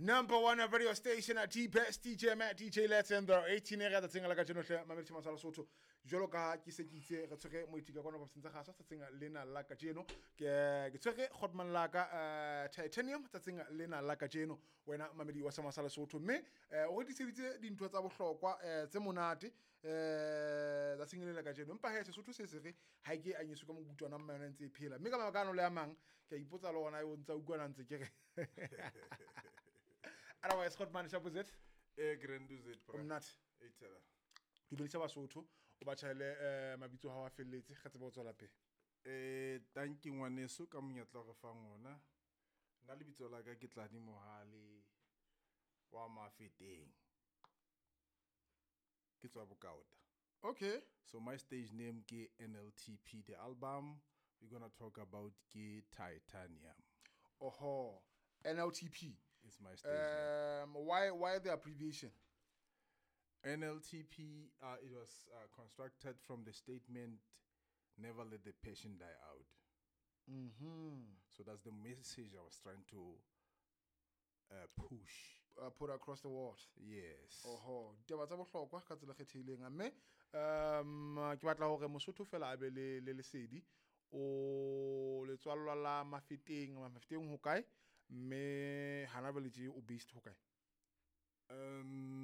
Number one radio station at the best DJ Matt, DJ Let's and the 18 area tsatsing la kajeno hle mamedi masala Sotho. Jwalo ka ke se ke itse re tshwere moeti ka kwana ofising tsa kgaso tsatsing lena la kajeno. Ke tshwere Godman la ka Titanium tsatsing lena la kajeno wena mamedi wa Masala Sotho, mme o re tiseditse dintho tsa bohlokwa tse monate tsatsing lena la kajeno. Empa he, Sesotho se se re ha ke anyiswe ka mokutwana, mma yona ntse e phela, mme ka mabaka ano le a mang ke a ipotsa le ona o ntsa utlwana ntse ke re otherwise. Godman, shapo Z. Grand Z, o monate. Eitela. Dumedisa Basotho, o ba tjhaele mabitso hao a felletse, re tsebe ho tswela pele. Thank you, ngwaneso, ka monyetla o re fang ona. Nna lebitso la ka ke Tladi Mohale wa Mafeteng. Ke tswa Bokaota. So my stage name ke NLTP. The album we're going to talk about ke Titanium. Oho, NLTP. It's my stage name. Why the abbreviation? NLTP, it was constructed from the statement, "Never let the passion die out." So that's the message I was trying to push. Put across the world. Yes. Oho, ditaba tsa bohlokwa ka tsela e kgethehileng, mme ke batla hore Mosotho fela a be le lesedi. O letswallwa la Mafeteng, Mafeteng ho kae, mme hana jwale tje o based ho kae?